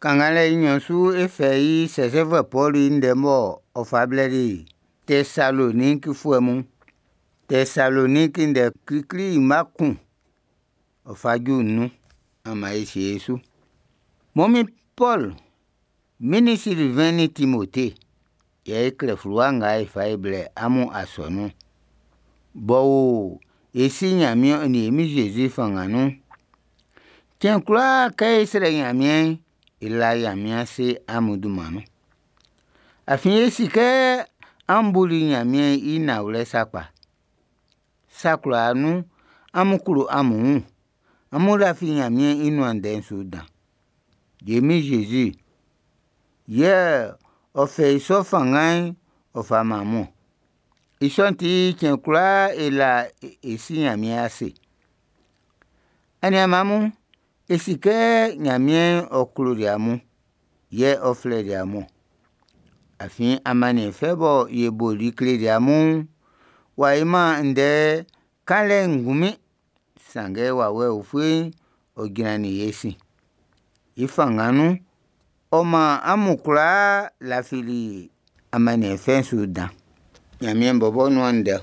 Kannganlɛ i nɲɔn su e fɛ i sɛsɛfuɛ Pɔlu i ndɛ m'ɔ ɔ fa blɛli Tɛsalonikifuɛ mun. Tɛsaloniki ndɛ klikli mma 1 ɔ fa ju 5. An man e sie e su. Mɔ min Pɔlu, min nin Silvɛn nin Timote, yɛ e klɛ fluwa nga e fa e blɛ amun asɔnun'n, b'ɔ wo e Si Nyanmiɛn ɔ nin e Min Jésus fanngan nun'n. Cɛn kwlaa kɛ e srɛ Nyanmiɛn'n, e la Nyanmiɛn ase amun dunman nun. Afin e si kɛ an buli Nyanmiɛn i nanwlɛ sakpa. Sa kwlaa nun amun klo amun wun, amun lafi Nyanmiɛn i nuan ndɛ'n su dan. E Min Jésus yɛ ɔ fɛ i sɔ fanngan'n ɔ fa man amun. I sɔ'n ti cɛn kwlaa e la e Si Nyanmiɛn ase. Aniaanman mun, e si kɛ Nyanmiɛn ɔ kloli amun, yɛ ɔ flɛli amun. Afin amanniɛn fɛ bɔ ye boli kleli amun'n, w'a yo-man ndɛ kanlɛ'n ngunmin, sanngɛ wawɛ ufue'n ɔ jrannin ye sin. I fanngan nun, ɔ man amun kwlaa lafili amanniɛn fɛ'n su dan. Nyanmiɛn bɔbɔ nuan ndɛ.